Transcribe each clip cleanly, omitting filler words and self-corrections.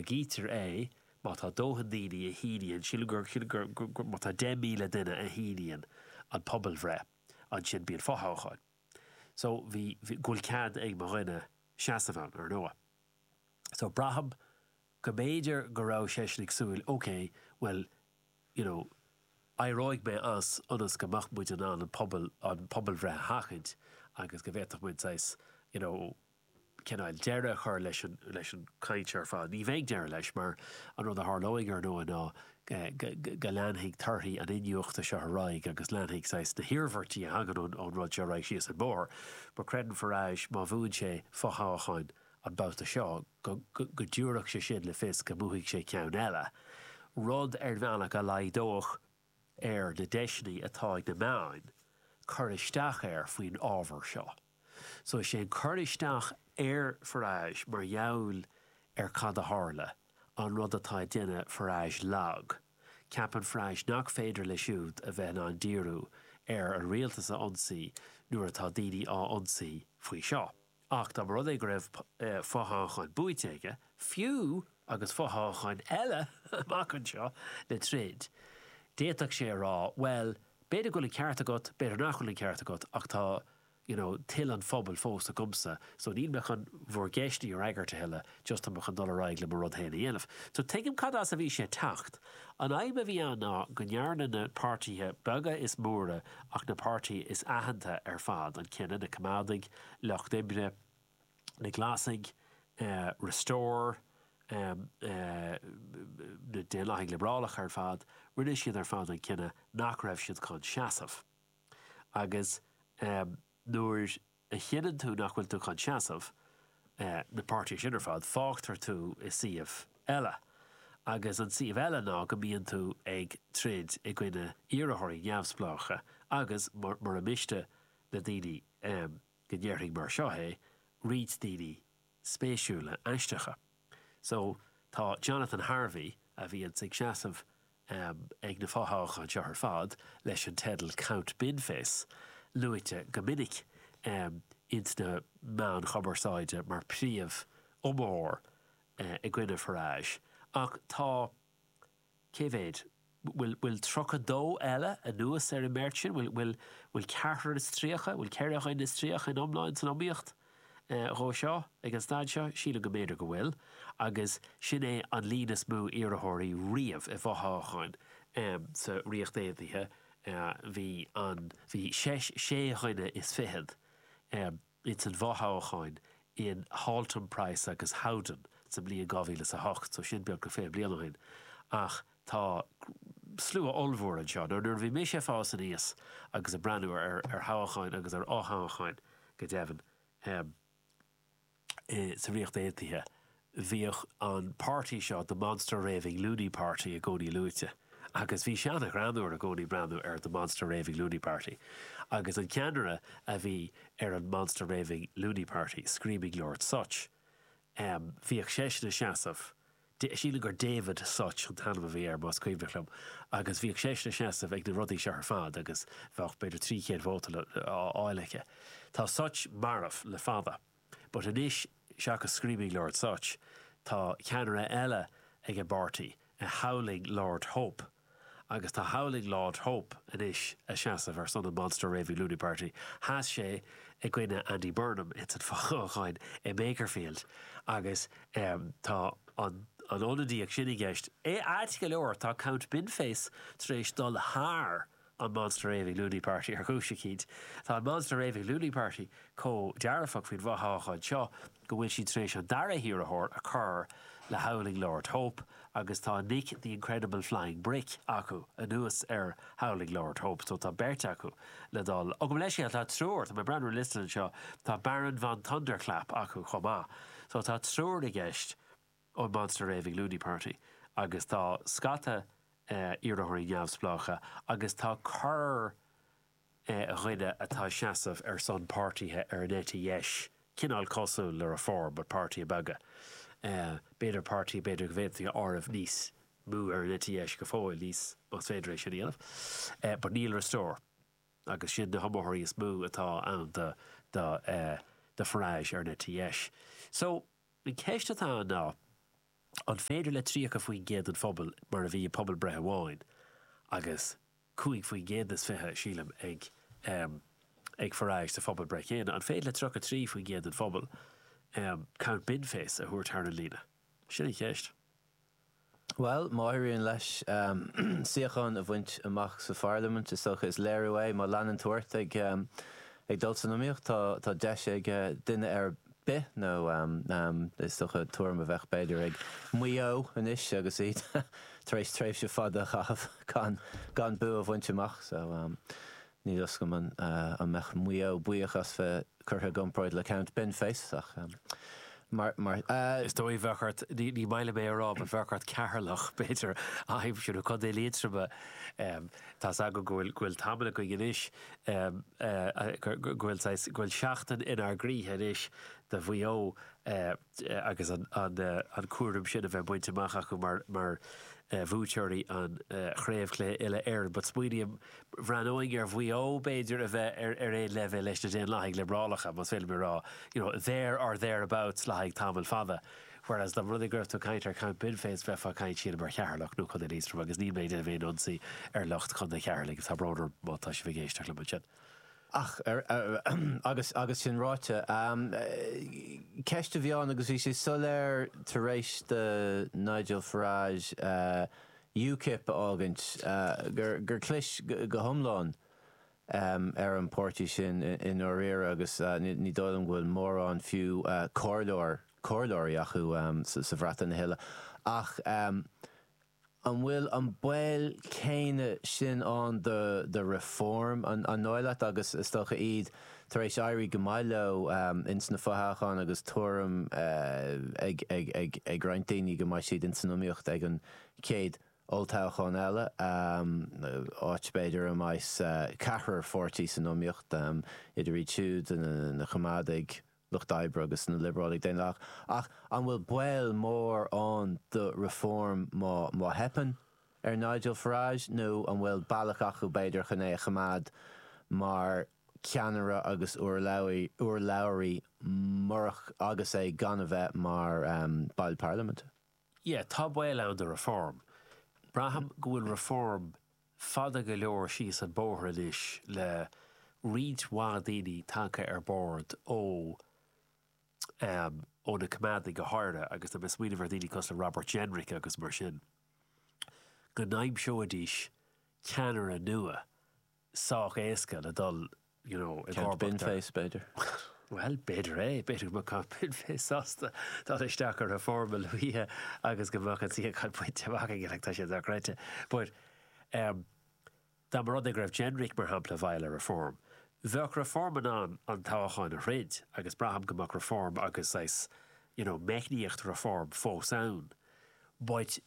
Mura gcítear é, má tá dóthain daoine a shíníonn, sílim gur, sílim gur, gur, má tá 10,000 duine a shíníonn an pobalbhreith, ansin bíonn fothoghchán. So, bhí, bhí, go bhfuil cead ag mo dhuine seasamh ann, ar ndóigh. So, braithim go mb'fhéidir go raibh seisean ag súil, ok, bhuel, you know, éireoidh mé as ionas go mbeadh muid in ann an pobal, an pobalbhreith a sheachaint agus go bhféadfadh muid saghas, you know, cineál deireadh a chur leis an, leis an chaint seo ar fad. Ní bheidh deireadh leis mar an rud a tharlóidh ar ndóigh ná go, go, go leanfaidh torthaí an iniúchta seo ar aghaidh agus leanfaidh saghas na hiarmhairtí a thagann ón, ón rud seo ar aghaidh síos an bóthar. But creideann Farage má bhuann sé fothoghchán an babhta seo go, go, go dtabharfadh sé sin le fios go mbuafaidh sé ceann eile, rud ar bhealach a laghdódh ar na deiseanna atá ag na meáin cur isteach air faoin ábhar seo. So is é an cur isteach ar Farage mar gheall ar cad a tharla an rud atá ag déanamh Farage lag. Ceapann Farage nach féidir leis siúd a bheith in ann díriú ar an rialtas a ionsaí nuair atá daoine á ionsaí faoi seo. Ach dá mba rud é go raibh fothoghchán buaite aige, fiú agus fothoghcháin eile amach anseo le troid, d'fhéadfadh sé a rá, bhuel, b'fhéidir go bhfuil an ceart agat, b'fhéidir nach bhfuil an ceart agat, ach tá, you know, toil an phobail fós agamsa, so níl mé chun bhur gceisteanna a fhreagairt a thuilleadh, just tá mé chun dul ar aghaidh le mo rud féin a dhéanamh. So tuigim cad as a bhí sé ag teacht. An fhadhb a bhí ann ná go ndearna na páirtithe beaga is móra ach na páirtithe is aitheanta ar fad an cinneadh, na Coimeádaigh, Lucht Oibre, na Glasaigh, Restore, na Daonlathaigh Liobrálacha ar fad, rinne siad ar fad an cinneadh nach raibh siad chun seasamh. Agus nuair a chinneann tú nach bhfuil tú chun seasamh, na páirtithe sin ar fad, fágtar tú i suíomh eile. Agus an suíomh eile ná go mbíonn tú ag troid i gcoinne iarrthóirí neamhspleácha agus, mura miste le daoine go ndéarfainn mar seo é, roinnt daoine spéisiúla aisteacha. So, tá Jonathan Harvey, a bhíonns ag seasamh ag na fothoghcháin seo ar fad leis an teideal Count Binface, luaite go minic ins na meáin chumarsáide mar príomh iomaitheoir i gcoinne Farage. Ach tá. Cé mhéad? Bhfuil, bhfuil 32 eile anuas ar an mbeirt sin? Bhfuil, bhfuil, bhfuil ceathrar is 30, bhfuil ceithre dhuine is 30 in iomlán san iomaíocht dhó seo ag an staid seo? Sílim go mb'fhéidir go bhfuil. Agus sin é an líon is mó iarrthóirí riamh i bhfothoghchán sa Ríocht Aontaithe. Bhí an, bhí sé, sé dhuine is fichead. ins an bhfothoghchán in Haltemprice agus Howden sa mbliain 2008, so sin beagnach 20 bliain ó shin, ach tá slua ollmhór anseo. Now nuair a bhí mise ag fás aníos agus ag breathnú ar ar thoghcháin agus ar fhothoghcháin go deimhin sa Ríocht Aontaithe, bhíodh an páirtí seo, The Monster Raving Loony Party, i gcónaí luaite. Agus bhí sé an-ghreannmhar i gcónaí breathnú ar The Monster Raving Loony Party. Agus an ceannaire a bhí ar an Monster Raving Loony Party, Screaming Lord Sutch, bhíodh seisean ag seasamh, sílim gur David Sutch an t-ainm a bhí air, más cuimhneach liom, agus bhíodh seisean ag seasamh ag na rudaí seo ar fad agus bheadh b'fhéidir 300 vóta á fháil aige. Tá Sutch marbh le fada. But anois, seachas Screaming Lord Sutch, tá ceannaire eile ag an bpáirtí, Howling Lord Hope. Agus tá Howling Lord Hope anois a seasamh ar son an Monster Raving Loony Party. Sheas sé i gcoinne Andy Burnham ins an fothoghchán i mBakerfield agus tá an ionadaíocht sin i gceist. Ait go leor, tá Count Binface tar éis dul thar an Monster Raving Loony Party ar chúis eicínt. Tá an Monster Raving Loony Party chomh dearfach faoin bhfothoghchán seo go bhfuil siad tar éis an dara hiarrthóir a chur le Howling Lord Hope agus tá Nick the Incredible Flying Brick acu anuas ar Howling Lord Hope so tá beirt acu le dul. Ó gabh mo leithscéal, tá triúr, tá mé ag breathnú ar an liosta anseo, tá Baron von Thunderclap acu chomh maith. So tá triúr i gceist. ón Monster Raving Loony Party agus tá scata iarrthóirí neamhspleácha agus tá corr dhuine atá ag seasamh ar son páirtithe ar an eite dheis, cineál cosúil le Reform but páirtithe beaga. B'fhéidir páirtí b'fhéidir go bhféadfaí a áireamh níos mó ar an eite dheis go fóill, níos, más féidir é sin a dhéanamh. But níl Restore agus sin na hiomaitheoirí is mó atá ann do do do Farage ar an eite dheis. So, An ceist atá ann ná. An féidir le 30% den phobal, mar a bhí i bpobalbhreith amháin, agus 25%, sílim, ag ag Farage sa phobalbhreith chéanna, an féidir le 33% den phobal Count Binface a thabhairt thar an líne? Sin an cheist. Bhuel, má éiríonn leis suíochán a bhaint amach sa pharlaimint, is dócha is léiriú é, má leanann tú ort ag ag dul san iomaíocht, tá tá deis ag duine ar bith, nó is dócha tuairim a bheadh b'fhéidir ag Maigh Eo anois agus iad tar éis tréimhse fada a chaitheamh gan gan bua a bhaint amach. So níl a fhios agam an an mbeadh Maigh Eo buíoch as bheith curtha i gcomparáid le Count Binface ach mar mar. Is dóigh bheadh ort, ní ní maith liom é a rá, but bheadh ort Ceatharlach b'fhéidir a aimsiú nó Contae Liatroma. Tá's agam go bhfuil go bhfuil tamall againn anois go bhfuil saghas, go bhfuil seachtain inár gcroíthe anois do Mhaigh Eo agus an cúram sin a bheith bainte amach acu mar bhuaiteoirí an chraobhchluiche uile-Éireann. But smaoiním, bhreathnóinn ar Mhaigh Eo b'fhéidir a bheith ar aon leibhéal leis na Daonlathaigh Liobrálacha, más féidir liom a rá, you know, there or thereabouts le haghaidh tamall fada. Whereas dá mba rud é go raibh tú ag caint ar Count Binface bheifeá ag caint sílim ar Cheatharlach nó Contae Liatroma agus níl mé ag déanamh aon ionsaí ar lucht Chontae Cheatharlaigh, tá brón orm má tá sibh ag éisteacht liom ansin. Ach, agus, agus sin ráite, ceist a bhí ann agus bhí sé soiléir tar éis do Nigel Farage UKIP a fhágaint gur, gur chlis go hiomlán ar an bpáirtí sin i ndáiríre agus ní dóigh liom go bhfuil mórán fiú comhairleoir, comhairleoirí acu sa Bhreatain a thuilleadh. Ach an bhfuil an baol céanna sin ann do Reform, an dóigh leat, agus is dócha iad tar éis éirí go maith leo ins na fothoghcháin agus tuairim ag roinnt daoine go mbeidh siad ins an iomaíocht ag an chéad olltoghchán eile, áit b'fhéidir a mbeidh ceathrar pháirtí san iomaíocht, idir iad siúd, na Coimeádaigh, Lucht Oibre agus na Liobrálaigh Daonlathacha. Ach an bhfuil baol mór ann do Reform má má theipeann ar Nigel Farage nó an bhfuil bealach acu b'fhéidir chun é a choimeád mar cheannaire agus urlabhraí murach agus é gan a bheith mar ball parlaiminte? Yeah, tá baol ann do Reform. Braithim go bhfuil Reform fada go leor síos an bóthar anois le roinnt mhaith daoine tagtha ar bord ó em ó na Coimeádaigh go háirithe agus tá mé ag smaoineamh ar dhaoine cosúil le Robert Jenrick agus mar sin, go n-aimseoidís ceannaire nua sách éasca le dul you know i Count gcomharbacht ar. Binface, b'fhéidir. Bhuel, b'fhéidir é. B'fhéidir go mbeadh Count Binface sásta dul isteach ar Reform a luaithe agus go mbeadh an suíochán bainte amach aige, like tá sé dochreidte. But em dá mba rud é go raibh Jenrick, mar shampla, i bhfeighil ar Reform, bheadh Reform in ann an toghchán a throid agus braithim go mbeadh Reform agus saghas you know meicníocht Reform fós ann. But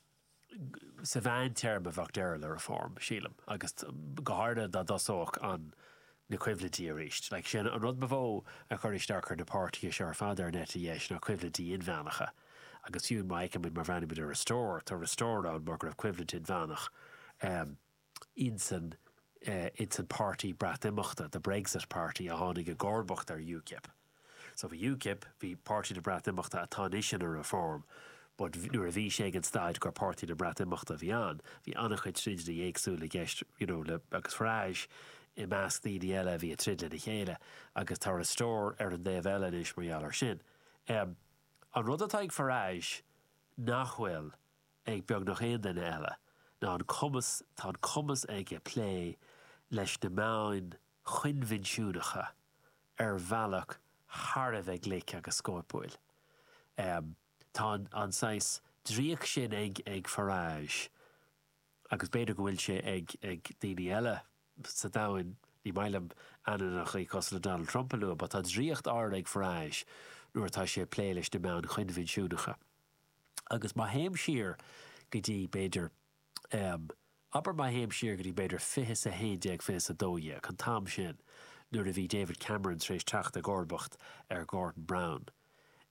sa mheántéarma bheadh deireadh le Reform, sílim, agus go háirithe dá dtosódh an na coimhlintí arís. Like, sin an rud ba mhó a chuir isteach ar na páirtithe seo ar fad ar an eite dheis ná coimhlintí inmheánacha. Agus fiú má fheicimid, má bhreathnaímid ar Restore, tá Restore ann mar go raibh coimhlint inmheánach insan insan páirtí Breatimeachta, the Brexit Party, a tháinig i gcomharbacht ar UKIP. So bhí UKIP, bhí Páirtí na Breatimeachta atá anois ina Reform, but nuair a bhí sé ag an staid gur Páirtí na Breatimeachta a bhí ann, bhí an-chuid troideanna éagsúla i gceist, you know, le, agus Farage i measc daoine eile a bhí ag troid lena chéile, agus tá Restore ar an dtaobh eile anois mar gheall air sin. Em, an rud atá ag Farage nach bhfuil ag beagnach aon duine eile ná an cumas, tá an cumas aige plé leis na meáin choinbhinsiúnacha ar bhealach thar a bheith glic agus scóipiúil. Tá an saghas draíocht sin ag ag Farage agus b'fhéidir go bhfuil sé ag ag daoine eile sa domhan, ní maith liom ainmneacha cosúil le Donald Trump a lua, but tá draíocht áirithe ag Farage nuair atá sé ag plé leis na meáin choinbhinsiúnacha. Agus má théim siar go dtí b'fhéidir, Abair má théim siar go dtí b'fhéidir 20 is 11, 20 is 12, an t-am sin nuair a bhí David Cameron tar éis teacht i gcomharbacht ar Gordon Brown,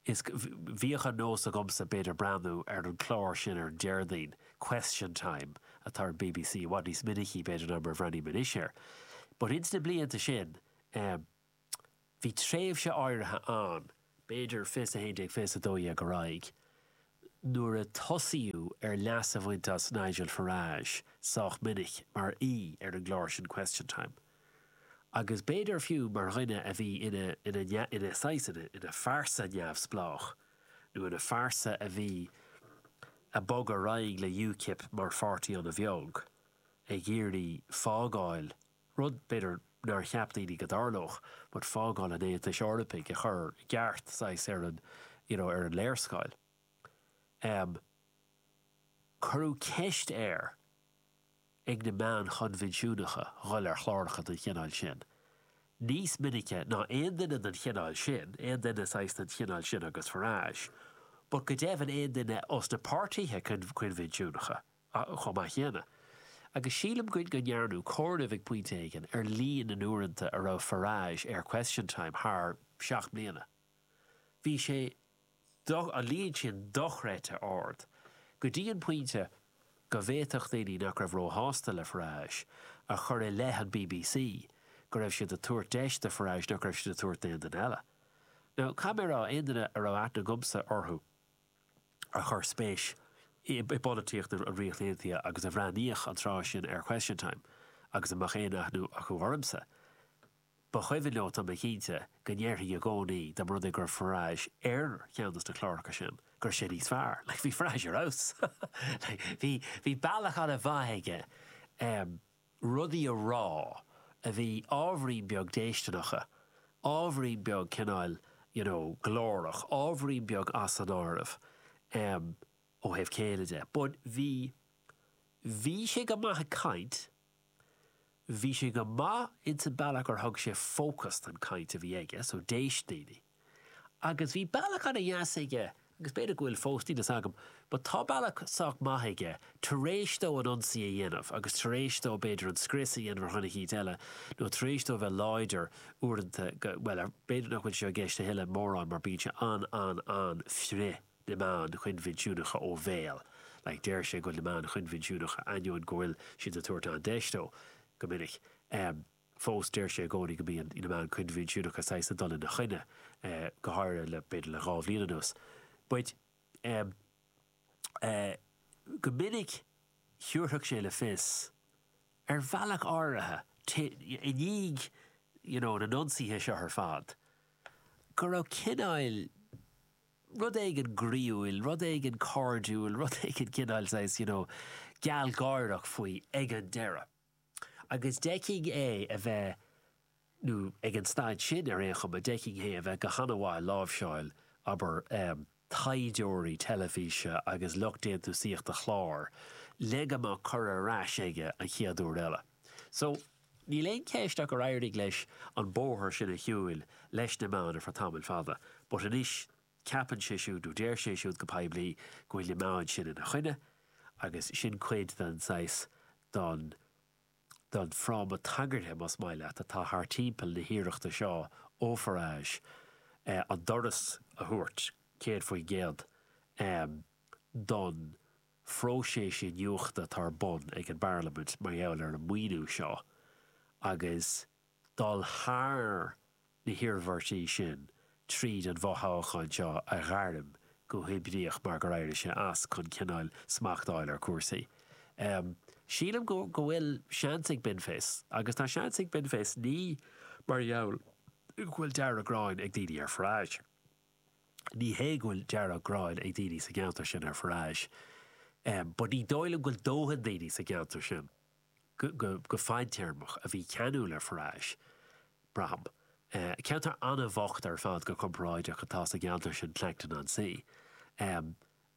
is bhíodh an nós agamsa b'fhéidir breathnú ar an chlár sin ar an Déardaoin, Question Time, atá ar an bbc, i bhfad níos minicí b'fhéidir ná mar a bhreathnaím anois air. But ins na blianta sin, bhí tréimhse áirithe ann, b'fhéidir 20 is 11, 20 is 12 ar aghaidh. nuair a tosaíodh ar leas a bhaint as Nigel Farage sách minic mar aoi ar an gclár sin Question Time. Agus b'fhéidir fiú mar dhuine a bhí ina, ina, ina saghas, ina, ina phearsa neamhspleách nó ina phearsa a bhí ag bogadh ar aghaidh le UKIP mar pháirtí an-bheag ag iarraidh fágáil, rud b'fhéidir nár cheap daoine go dtarlódh, but fágáil an Aontais Eorpaigh a chur i gceart saghas ar an, you know, ar an léarscáil. Em, cuireadh ceist air ag na meáin choinbhinsiúnacha dhul ar chláracha den chineál sin níos minice ná aon duine den chineál sin, aon duine saghas den chineál sin agus Farage, but go deimhin aon duine os na páirtithe coinbhinsiúnacha chomh maith céanna. Agus sílim go go ndearnadh comhaireamh ag pointe éigin ar líon na n-uaireanta a raibh Farage ar Question Time thar sheacht mbliana. Bhí sé an líon sin dochreidte ard, go dtí an pointe go bhféadfadh daoine nach raibh róshásta le Farage a chur i leith an bbc go raibh siad ag tabhairt deis do Farage nach raibh siad ag tabhairt d'aon duine eile. Now, caithfidh mé a rá, aon duine a raibh aithne agamsa orthu a chuir spéis i bpolaitíocht an Ríocht Aontaithe agus a bhreathnaíodh an tráth sin ar Question Time agus a mbeadh aon aithne acu ormsa, Ba chuimhin leo, tá mé cinnte, go ndéarfainn i gcónaí, dá mba rud é go raibh Farage ar cheann dos na cláracha sin, go raibh sé níos fearr. Like, bhí Farage ar fheabhas. Like, bhí, bhí bealach an-mhaith aige em rudaí a rá a bhí ábhairín beag déistineacha, ábhairín beag cineál, you know, glórach, ábhairín beag as an áireamh em ó thaobh céille de. But bhí, bhí sé go maith ag caint, Bhí sé go maith ins an bealach gur thug sé fócas don caint a bhí aige, so d'éist daoine. Agus bhí bealach ana dheas aige, agus b'fhéidir go bhfuil fós, níl fhios agam, but tá bealach sách maith aige, tar éis dó an ionsaí a dhéanamh agus tar éis dó b'fhéidir an scrios a dhéanamh ar dhuine eicínt eile, nó tar éis dó a bheith láidir uaireanta, go, bhuel, b'fhéidir nach bhfuil sé i gceist a thuilleadh mórán mar bíonn sé an-an-an-frith. na meáin choinbhinsiúnacha ó bhéal. Like, deir sé go bhfuil na meáin choinbhinsiúnacha, ainneoin go bhfuil siad ag tabhairt an-deis dó, go minic, em, fós deir sé i gcónaí go mbíonn na meáin choinbhinsiúnacha saghas ag dul ina choinne, eh, go háirithe le, b'fhéidir le 2 bhliain anuas. But, em, eh, go minic thabharfadh sé le fios, ar bhealach áirithe, i ndiaidh, you know, na n-ionsaithe seo ar fad, go raibh cineál, rud éigin groíúil, rud éigin cairdiúil, rud éigin cineál saghas, you know, gealgháireach faoi ag an deireadh. Agus d'fheicfinn é a bheith, nó ag an staid sin ar aon chuma, d'fheicfinn é a bheith go han-mhaith ag láimhseáil, abair, taighdeoirí teilifíse agus lucht déantúsaíochta chlár le go mbeadh cur ar ais aige an chéad uair eile. So, níl aon cheist ach gur éirigh leis an bóthar sin a shiúil leis na meáin ar feadh tamaill fada, but anois ceapann sé siúd, nó deir sé siúd go poiblí, go bhfuil na meáin sin ina choinne agus sin cuid den saghas, den, den fráma tagartha, más maith leat, atá thar timpeall na hiarrachta seo ó Farage an doras a thabhairt, 100%, don. phróiseas iniúchta atá ar bun ag an bParlaimint mar gheall ar an maoiniú seo agus dul thar na hiarmhairtí sin tríd an bhfothoghchán seo a ghairm go hoibríoch mar gur éirigh sé as chun cineál smacht a fháil ar chúrsaí. Sílim go bhfuil seans ag Binface agus tá seans ag Binface ní mar gheall go bhfuil dearg-ghráin ag daoine ar Farage. Ní hé go bhfuil dearg-ghráin ag daoine sa gceantar sin ar Farage, but ní dóigh liom go bhfuil dóthain daoine sa gceantar sin go fadtéarmach a bhí ceanúil ar Farage, braithim. Ceantar an-bhocht ar fad go comparáideach atá sa gceantar sin, Clacton-on-Sea.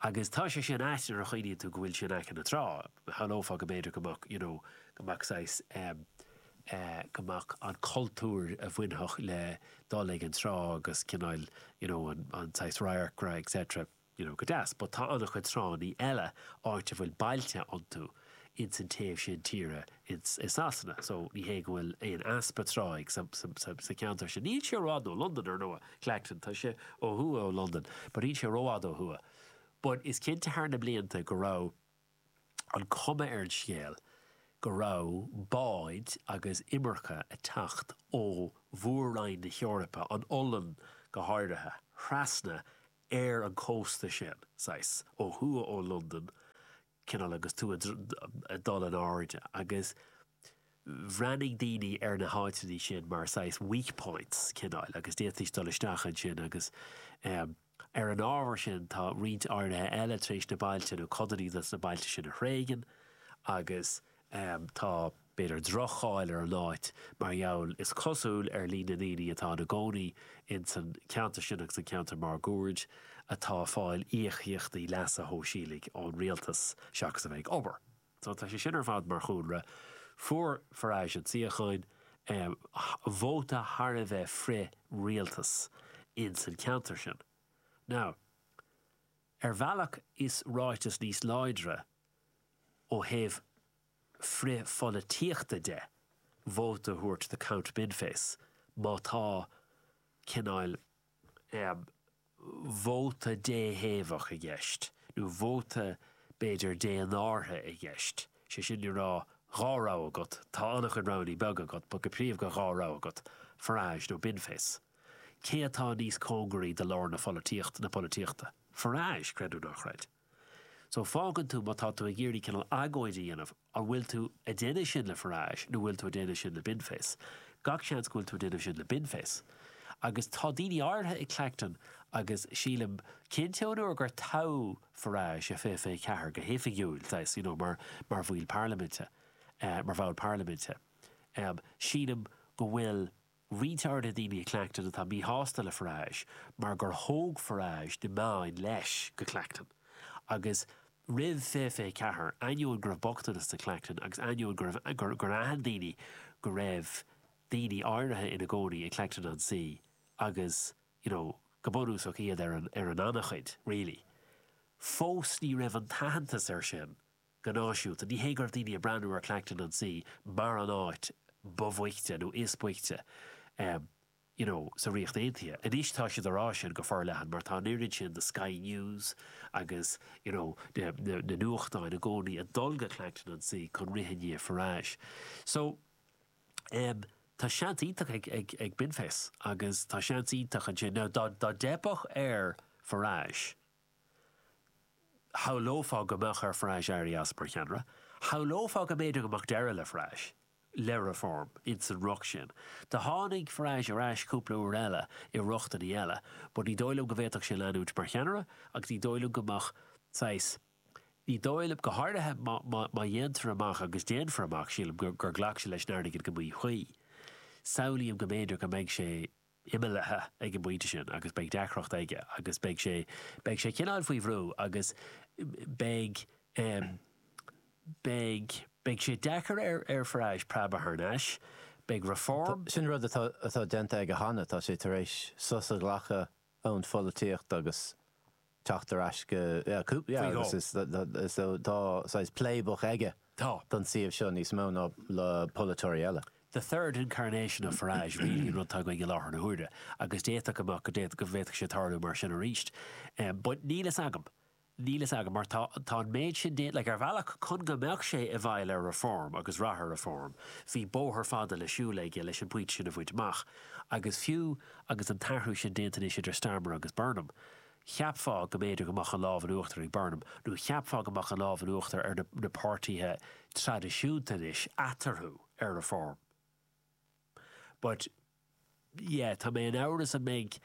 Agus tá sé sin ait nuair a chuimhníonn tú go bhfuil sé in aice na trá. Shamhlófá go mb'fhéidir go mbeadh, you know, go mbeadh saghas em eh go mbeadh an cultúr a bhainfeadh le dul ag an trá agus cineál, you know, an an saghas radharcra et cetera, you know, go deas. But tá an-chuid tránnaí eile áit a bhfuil bailte iontu ins an taobh sin tíre ins i Sasana. So ní hé go bhfuil aon easpa tráigh sa sa sa sa cheantar sin. Níl sé rófhada ó Londain, ar ndóigh, Clacton, tá sé ó thuaidh ó Londain, but níl sé rófhada ó thuaidh. But is cinnte thar na blianta go raibh an cuma ar an scéal go raibh báid agus imirce ag teacht ó mhór-roinn na hEorpa, an Ollainn go háirithe, trasna. ar an cósta sin, saghas, ó thuaidh ó Londain, cineál agus tú ag dul in airde agus bhreathnaigh daoine ar na háiteanna sin mar saghas weak points, cineál, agus d'fhéadfaidís dul isteach ansin agus ar an ábhar sin tá roinnt áirithe eile tar éis na bailte nó codanna de na bailte sin a thréigean agus Tá, b'fhéidir, droch-cháil ar an áit mar gheall, is cosúil, ar líon na ndaoine atá ina gcónaí ins an cheantar sin agus an ceantar máguaird atá ag fáil íocaíochtaí leasa shóisialaigh ón rialtas seachas a bheith ag obair. So tá sé sin ar fad mar chúlra. Fuair Farage an suíochán, vóta thar a bheith frith-rialtas ins an cheantar sin. Now, ar bhealach is ráiteas níos láidre ó thaobh frith-pholaitíochta de, vóta a thabhairt do Count Binface má tá cineál vóta déthaobhach i gceist, nó vóta b'fhéidir dénártha i gceist, sé sin le rá dhá rogha agat, tá an-chuid roghanna beaga agat, but go príomha dhá rogha agat, Farage nó Binface. Cé atá níos cóngaraí do lár na pholaitíocht, na polaitíochta? Farage, creid nó ná creid. So fágann tú, má tá tú ag iarraidh cineál agóid a dhéanamh, an bhfuil tú ag déanamh sin le Farage nó bhfuil tú ag déanamh sin le Binface? Gach seans go bhfuil tú ag déanamh sin le Binface. Agus tá daoine áirithe i Clacton agus sílim, cinnte ón uair gur toghadh Farage i 2024 go hoifigiúil, saghas, you know, mar, mar bhaill parlaiminte, mar bhall parlaiminte, sílim go bhfuil, roinnt áirithe daoine i Clacton atá míshásta le Farage mar gur thóg Farage na meáin leis go Clacton agus roimh 2024, ainneoin go raibh bochtanas i Clacton agus ainneoin go raibh, gur, gur aithin daoine go raibh daoine áirithe ina gcónaí i Clacton-on-Sea agus, you know, go bunúsach iad ar an, ar an annachuid, really. Fós ní raibh an t-aitheantas air sin. Go náisiúnta, ní hé go raibh daoine ag breathnú ar Clacton-on-Sea mar an áit ba bhoichte nó is boichte you know sa Ríocht Aontaithe. Anois tá siad á rá sin go forleathan mar tá an oiread sin de Sky News agus you know na na nuachtáin i gcónaí ag dul go Clacton-on-Sea chun rith i ndiaidh Farage. So em tá seans iontach ag ag ag Binface agus tá seans iontach ansin. Now dá dá dteipfeadh ar Farage, Shamhlófá go mbeadh ar Farage éirí as mar cheannaire. Shamhlófá go mb'fhéidir go mbeadh deireadh le Farage, le Reform, ins an riocht sin. Do tháinig Farage ar ais cúpla uair eile i riochtanna eile, but ní dóigh liom go bhféadfadh sé leanúint mar cheannaire agus ní dóigh liom go mbeadh saghas, ní dóigh liom, go háirithe má, má, má dhéantar amach agus déanfar amach, sílim, gur, gur ghlac sé leis an airgead go míchuí. Samhlaím go mb'fhéidir go mbeidh sé imeallaithe ag an bpointe sin agus beidh deacracht aige agus beidh sé, beidh sé cineál faoi bhrú agus beidh, beidh, beidh sé deacair ar, ar Farage preabadh thar n-ais. Beidh Reform. Sin rud atá, atá déanta aige cheana, tá sé tar éis sos a ghlacadh ón pholaitíocht agus teacht ar ais go, yeah, cúpla, yeah, agus is, is, tá saghas playbook aige Tá. don suíomh seo níos mó ná le polaiteoirí eile. The third incarnation of Farage really an rud atá againn i láthair na huaire agus d'fhéadfadh go mbeadh, go d'fhéadfadh, go bhféadfadh sé tarlú mar sin arís. But níl fhios agam. Níl fhios agam mar tá, tá an méid sin déanta, like ar bhealach chun go mbeadh sé i bhfeighil ar Reform agus rath ar Reform, bhí bóthar fada le siúl aige leis an bpointe sin a bhaint amach agus fiú agus an t-athrú sin déanta anois idir Starmer agus Burnham, cheapfá go mb'fhéidir go mbeadh an lámh in uachtar ag Burnham, nó cheapfá go mbeadh an lámh in uachtar ar na páirtithe traidisiúnta anois eatarthu ar Reform. But, yeah, tá mé in amhras an mbeidh,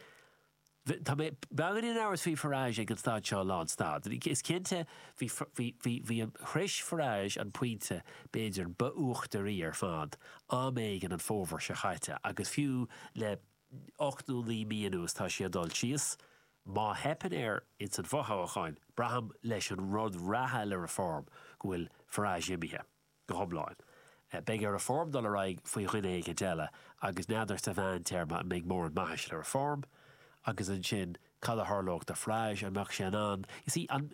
tá mé beagáinín in amhras faoi Farage ag an staid seo lánstad. Is cinnte, bhí, bhí, bhí, bhí an, shrois Farage an pointe b'fhéidir ba uachtaraí ar fad am éigin an fómhar seo chaite agus fiú le 8 nó 9 mí anuas tá sé ag dul síos. Má theipeann air ins an bhfothoghchán, braithim leis an rud reatha le Reform go bhfuil Farage imithe go hiomlán. Beidh ar Reform dul ar aghaidh faoi dhuine éigint eile agus n'fheadar sa mheántéarma an mbeidh mórán maitheasa le Reform agus ansin cad a tharlódh do Farage, an mbeadh sé in ann, you see, an,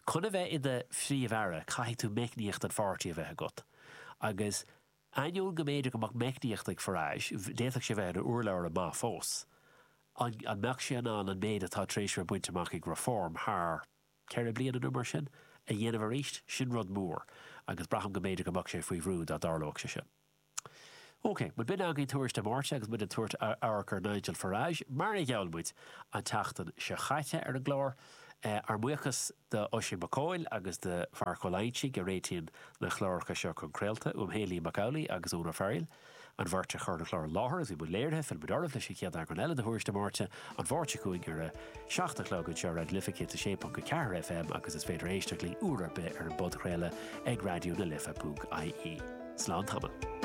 chun a bheith i do phríomh-aire caithfidh tú meicníocht an pháirtí a bheith agat agus Ainneoin go mb'fhéidir go mbeadh meicníocht ag Farage, d'fhéadfadh sé bheith ina urlabhra maith fós. An mbeadh sé in ann an méid atá tar éis a bheith bainte amach ag Reform thar cheithre bliana nó mar sin, a dhéanamh arís? Sin rud mór agus braithim go mb'fhéidir go mbeadh sé faoi bhrú dá dtarlódh sé sin. Ok, bhuel b'in againn Tuairisc Dé Máirt agus muid ag tabhairt amharc ar Nigel Farage, mar a gheall muid an tseachtain seo chaite ar an gclár. Ár mbuíochas do Oisín Mac Cóil agus do Mharc Ó Loingsigh a réitíonn na cláracha seo chun craolta, uaim féin Liam Mac Amhlaigh agus Eoin Ó Fearghail, an bheirt a chuir an clár i láthair agus bhí muid léirithe, fillfidh muid oraibh leis an chéad eagrán eile de Thuairisc Dé Máirt an Mháirt seo chugainn ar a 7 a chlog anseo ar Raidió na Life 106.4 FM agus is féidir éisteacht linn uair ar bith ar an bpodchraoladh ag raidió na life ponc ie. Slán tamall.